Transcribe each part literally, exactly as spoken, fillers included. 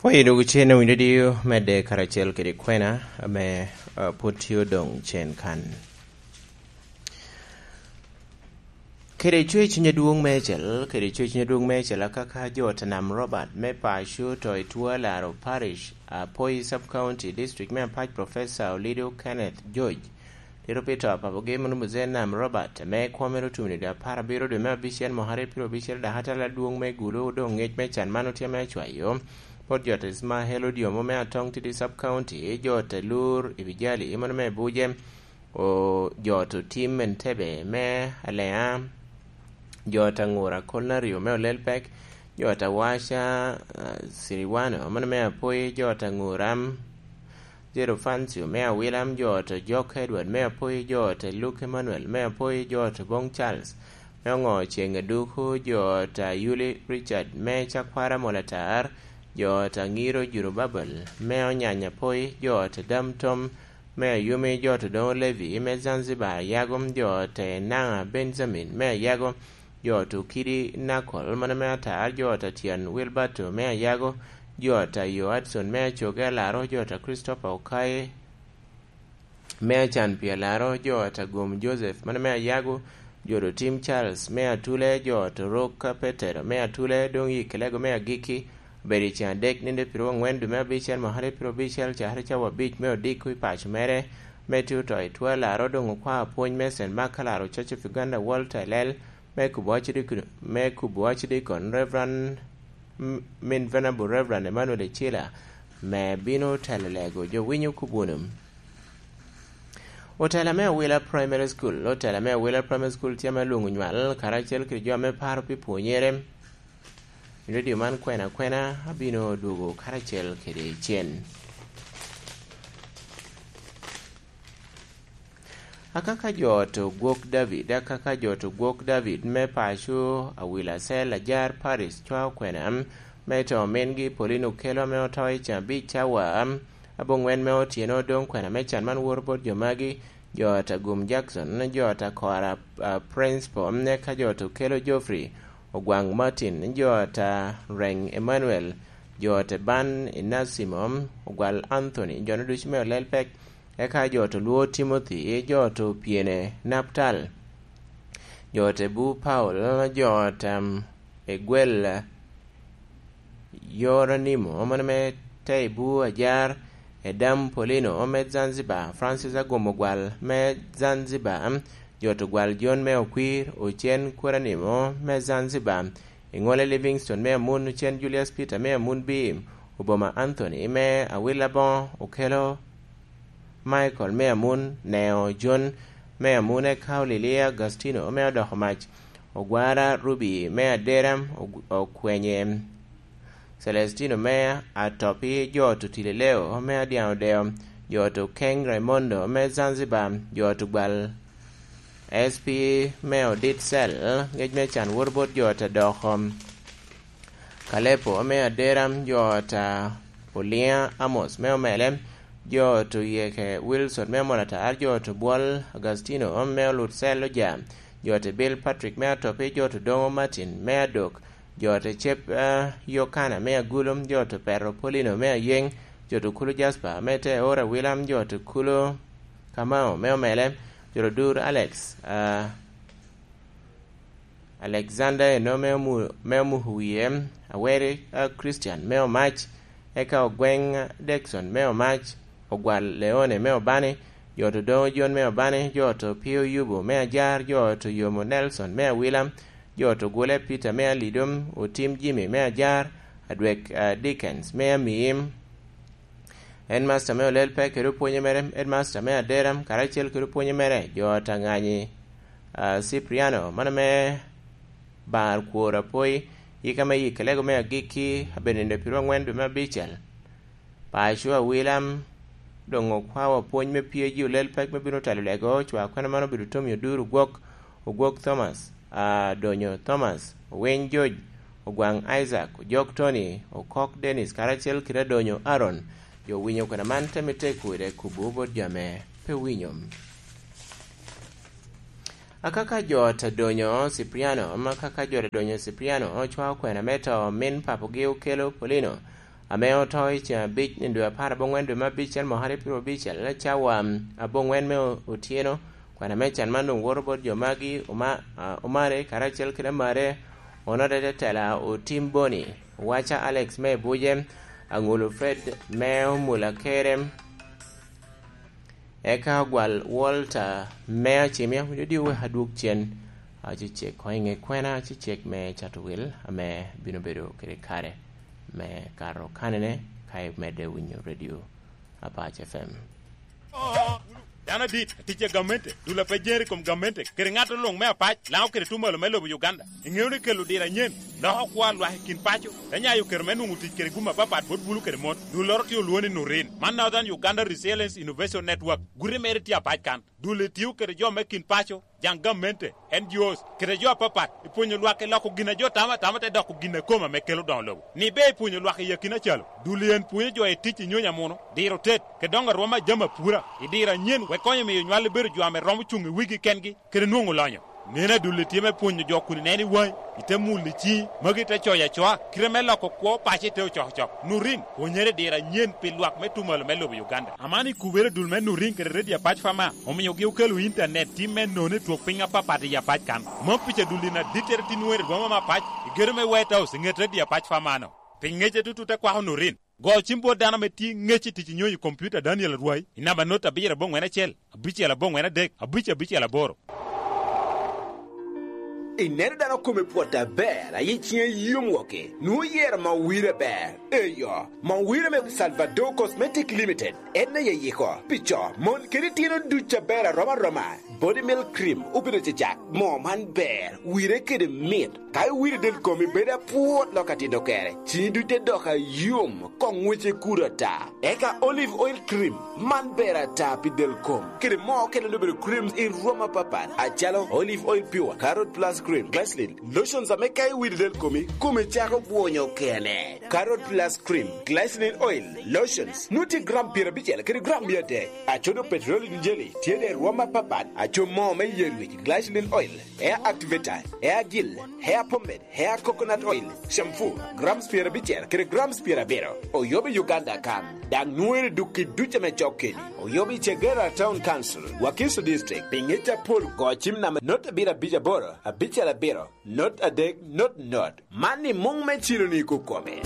Oye dwogo cen owinyo diyo medde karacel kede kwena ame, ah, pwod tye odoŋ cen kan. Kede cwer cuny adwoŋ meicel, kede cwer cuny adwoŋ meicel, akaka jo ta Nam Robert me paco to i Twalaro Parish, Apoi Sub County, District me Apac, Professor Olido Kenneth George, tito pi to a papogi mano Muzee Nam Robert, ame kwo mere otum i dwe apar abiro dwe me abicel mwaka aryo pyero abicel, dok atala adwoŋ me Gulu, doŋ ngec me can man otye ame acwayo bot jo ta Ismael Odiomo me Atong Tidi Sub County, jo ta Lur Ibijali, mano me Buje, o, jo ta Otim Entebbe me Alea, jo ta Ŋura Kolnario me Olelpek, jo ta Waca, ah, Siriwano, mano me Apoi, jo ta Ŋura, Jerofancio me Awilam, jo ta Jok Edward me Apoi, jo ta Luke Emmanuel me Apoi, jo ta Bong Charles me Oŋo Ceŋ Aduku, jo ta Yuli Richard me Cakwara Molatar, jo ta Ŋiro Jurubabel me Onyanya Apoi, jo ta Dam Tom me Ayumi, jo ta Doŋo Levi me Zanzibar Ayago, jo ta Enaŋa Benjamin me Ayago, jo ta Okidi Nakol mano me Atar, jo ta Tyen Wilberto me Ayago, jo ta Yo Adson me Acoge Alaro, jo ta Christopher Okaye me Acan pi Alaro, jo ta Gum Joseph mano me Ayago, jo ta Otim Charles me Atule, jo ta Rok Petero me Atule, doŋ i Kelego me Agikki, obedo i ceŋ adek, nino pyeraryo aŋwen dwe me abicel, mwaka aryo pyerabicel, cakere cawa abic me odiko i paco mere, me tye oto i Twalaro, doŋ okwao apwony me Saint Mark Alaro Church of Uganda World Telel, me kubo Archdeacon, me kubo Archdeacon Reverend, m-, min Venerable Reverend Emmanuel Ecila, me bino telo lego jo winyo kubuno. Otela me Awila Primary School, otela me Awila Primary School tye ame lwoŋo nywal karacel kede jo ame paro pi pwonyere. I redio man kwena kwena abino dwogo karacel kede cen. Akaka jo ta Ogwok David, akaka jo ta Ogwok David me paco Awila Cell Ajar Paris cwao kwena me to omingi Paulino Kelo ame oto i can abic cawa aboŋwen me otyeno. Doŋ kwena me can man woto bot jo magi: jo ta Gum Jackson, jo ta Kora, ah, Principal, eka jo ta Okelo Geoffrey, Ogwaŋ Martin, jo ta Reng Emmanuel, jo ta Ban Inasimo, Ogwal Anthony, jo-nu ducu me Olelpek, eka jo ta Olwo Timothy, jo ta Opyene Naptal, jo ta Ebu Paul, jo ta, em, Egwel Yoranimo, mano me Taibu Ajar, Edam Polino me Zanzibar, Francis Agum Ogwal me Zanzibar, jo ta Ogwal John me Okwir, Ocen Kweranimo me Zanzibar, Iŋole Livingstone me Amun, Ocen Julius Peter me Amun Bim, Oboma Anthony me Awila Boŋo, Okelo Michael me Amun, Neo John me Amun, eka Olilia Agostino me Odoko Mac, Ogwara Ruby me Adera, Og-, Okwenye Celestino me Atopi, jo ta Otileleo me Adiaŋ Odeo, jo ta Okeng Raimondo me Zanzibar, jo ta Ogwal S P me Odit Cell, ngec me can woto bot jo ta Doko Kalepo me Adera, jo ta Oliŋa Amos me Omele, jo ta Oyeke Wilson me Molatar, jo ta Obwol Agustino me Olut Cell Oja, jo ta Bill Patrick me Atopi, jo ta Odoŋo Martin me Adok, jo ta Cep, eh, Yokana me Agulu, jo ta Opero Polino me Ayeŋ, jo ta Okulu Jasper me Teora Wilam, jo ta Okulu Kamau me Omele, jo ta Odur Alex, ah, Alexander Eno me Omu-, me Omuhuwie, Aweri, ah, Christian me Omac, eka Ogweŋ Dexon me Omac, Ogwal Leone me Obani, jo ta Odoŋo John me Obani, jo ta Opio Yubu me Ajar, jo ta Oyomo Nelson me Awila, jo ta Ogule Peter me Alidom, Otim Jimmy me Ajar, Adwek, ah, Dickens me Amiim, Headmaster me Olel Pek kede opwonye mere, Headmaster me Adera, karacel kede opwonye mere, jo ta Ŋanyi, ah, Cipriano, mano me Bar Kwor Apoi, yika me Yikelego me Agikki, abedo nino pyeraryo aŋwen dwe me abicel. Paco Awilam doŋ okwao apwony me P A G Olel Pek me bino telo lego, cwa kwena man obedo Tommy Oduro Ogwok, Ogwok Thomas, ah, Donyo Thomas, Owiny George, Ogwaŋ Isaac, Ojok Tony, Okok Dennis, karacel kede Adonyo Aaron. Jo owinyo kwena man te mitte kude kubo bot jo ame pe owinyo. Akaka jo ta Donyo Cipriano, ma kaka jo ta Donyo Cipriano ocwao kwena me to min papogi Okelo Polino, ame oto i ceŋ abic i dwe apar aboŋwen dwe me abicel mwaka aryo pyero abicel, cawa aboŋwen me otyeno. Kwan ame can man doŋ woto bot jo magi, oma-, a, omare karacel kede amare, onode tetela otim boni, waca Alex me Buje, aŋolo Fred me Omula Kerem, eka ogwal Walter me Acimia, winyo di wek adwog cen, acecek koŋ i ŋe kwena, acecek me cato wil ame bino bedo kede kare me kato kanene ka imedde winyo redio Apac F M. Dano adit, atic a gamente, dul a pe jere i kom gamente, kede ŋat luŋ me Apac, Laŋo kede Tumalo me lobo Uganda. Iŋeo ni kelo diro anyen, loko kwo a lwak i kin paco, te nyayo kero me nwoŋo tic kede gum apapat bot bulu kede mon. Dulloro tye olwoŋo ni Nurin. Man Northern Uganda Resilience Innovation Network. Guti mere tye Apac kan. Dul-li tio kede jo me kin paco, jaŋ gamente, N G Os, kede jo apapat, i pwonyo lwak i loko gin a jo tamo atama te doko gin a kome ame kelo doŋo lobo. Ni ber i pwonyo lwak i akina calo, dul-li en pwonyo jo i tic i nyonyo amuno, diro tet, kede doŋo arwom a jami apura, i diro anyen, wek konyo miyo nywal-li bedo jo ame romo cuŋ i wigi kengi, kede nwoŋo lonyo. Neno adul-li tye me pwonyo jo kun ineno i waŋi, ite mulo i ciŋi, magi te coyo acoa, kite me loko kwo paco ite ocokocok. Nurin, pwonyere i diro anyen pi lwak me Tumalo me lobo Uganda. Aman ikubere dul me Nurin kede Redio Apac Fama, omiogi okelo intanet tim me nono i twok piny apapat i Apac kan. Mom pica dul-li na dittere tin wer i boma me Apac, i gedo me White House, i ŋet Redio Apac Fama-no. Pi ŋecce tutu te kwako Nurin. Go cim bot dano ame tye ŋec i tic i nyonyo i kompiuta Daniel Arwai i namba not abiro aboŋwen acel, abicel aboŋwen adek, abic abicel aboro. Ineno dano kome pwot aber, aye ciŋe yom woko, nwoŋo yero Mawira ber. Eyo, Mawira me Salvador Cosmetic Limited, en aye yiko, pi co, mon, kede itino ducu aber arom aroma. Body Milk Cream obedo cecak, moo man ber, wire kede mit. Ka iwiro del komi bedo apwot lok atito kere, ciŋi duc te dok ayom, koŋ ŋwece kuto ata. Eka Olive Oil Cream, man ber ata pi del kom. Kede moo okene obedo creams i rwom apapat, acalo Olive Oil Pure, Carrot Plus Cream, Glycerin, lotions ame ka iwiro del komi, kome cako bwonyo kene. Carrot Plus Cream, Glycerin Oil, Lotions, nwoŋo tye gram pyerabicel kede gram mia adek. Acodo Petroleum Jelly, tye de rwom apapat, aco moo me yerwic, Glycerin Oil, Hair Activator, Hair Gel, Hair Pomade, Hair Coconut Oil, Shampoo, grams pyerabicel kede grams pyerabiro. Oyobo i Uganda kan, daŋ nwoŋere duk i duc ame cok keni. Oyobo i Kagera Town Council, Wakiso District, pi ŋec apol go cim namba not abiro abic aboro, abicel abiro, not adek, not not. Man i muŋ me cilo ni kukome.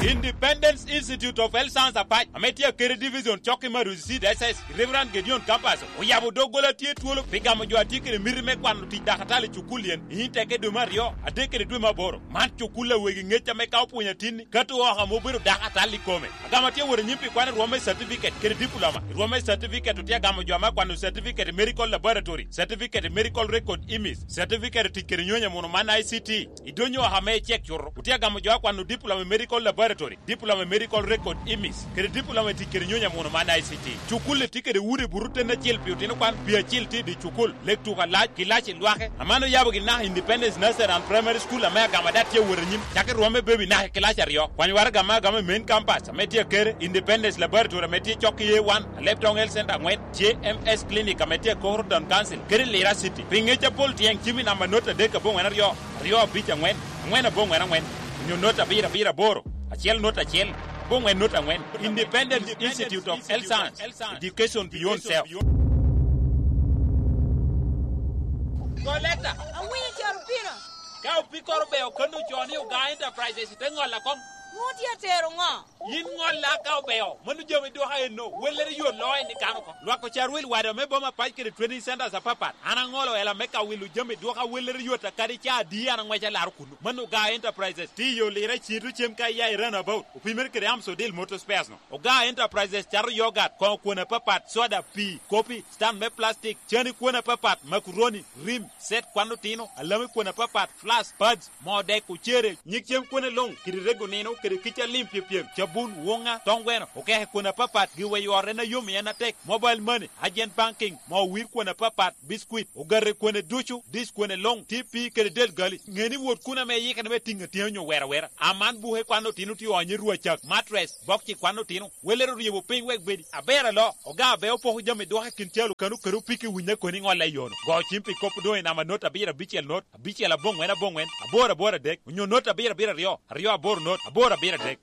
Independence Institute of Health Science Apac, ame tye Akere Division, cok i Maruzi Seed S S, i Reverend Gideon Campus, oyabo doggola tye twolo pi gamo jo a tye kede miti me kwano tic dakatal i cukul yen, i teke dwe me aryo, adek kede dwe me aboro. Man cukul a wegi ŋec ame ka opwonyo atinni, kato oko ame obedo dakatal i kome. Agamo atye wot anyim pi kwano i rwom me certificate kede diploma, i rwom me certificate otye agamo jo ame akwano certificate i medical laboratory, certificate i medical record image, certificate i tic kede nyonyo amuno man I C T. I dony oko ame icek cuto, otye agamo jo akwano diploma i medical laboratory, diploma i medical record image, kede diploma i tic kede nyonyo amuno man I C T. Cukul-li tye kede udi buto ten acel pi otino kwan, pi acil tye i dye cukul, lek tuko alac, ki lac i lwake. Aman oyabo gi naka Independence Nursery and Primary School ame agamo ada tye awot anyim, cako i rwom me baby naka i kilac aryo. Kwany waraga me agamo i main campus ame tye Akere, Independence Laboratory ame tye cok i A one, Aleptong Health Center angwen, J M S Clinic ame tye i Koro Town Council, kede Lira City. Pi ŋec apol tyeng cim i namba not adek aboŋwen aryo, aryo abic angwen, angwen aboŋwen angwen, onyo not abiro abiro aboro, acel not acel, aboŋwen not angwen. Independence Institute of Health Science, Education Beyond Self. Go leta. Awinyo caro pino. Ka opikoro beo kono ocoo ni Ogaa Enterprises te ŋolla koŋ. Nwoŋo tye atero ŋo? Yin ŋolla ka obeo, mano jami dwoka eno, wellere yo loo en i kano oko. Lwak ocar wil wada me boma pac kede training centers apapat. An aŋolo ela me ka wilo jami dwoka wellere yot a kadi ca adi an aŋwec alaro kuno. Mano Ogaa Enterprises, tye yo lira cito cem ka iya i runabout, opimere kede Amsodil Motor Spares no. Ogaa Enterprises cato yogat, koŋo kwon apapat, soda, pii, kopi, stand me plastic, cani kwon apapat, makuroni, rim, set kwan otino, alami kwon apapat, flask, pads, moo dek, ocere, nyig cem kwone luŋ, kidi rego nino, kede kica lim pyepyem, cabun, wuŋa, toŋ gweno, okeke kwon apapat, giweyo ot en a yom i en atek, mobile money, agent banking, moo wir kwon apapat, biscuit, ogate kwone ducu, dish kwone luŋ, T P kede del gali. Ŋe ni wot kun ame iyikere me tiŋ atyeni onyo wero awera. Aman buke kwan otino tye onyo i rwacak, mattress, bokci kwan otino. Welere oryebo piny wek bedi aber alo, oga abe opoko jami dwoko i kin calo kano kede opiki winyo koni ŋolle i yono. Go cim pi kop doŋ i namba not abiro abicel not, abicel aboŋwen aboŋwen, aboro aboro adek, onyo not abiro abiro aryo, aryo aboro not, aboro abiro adek.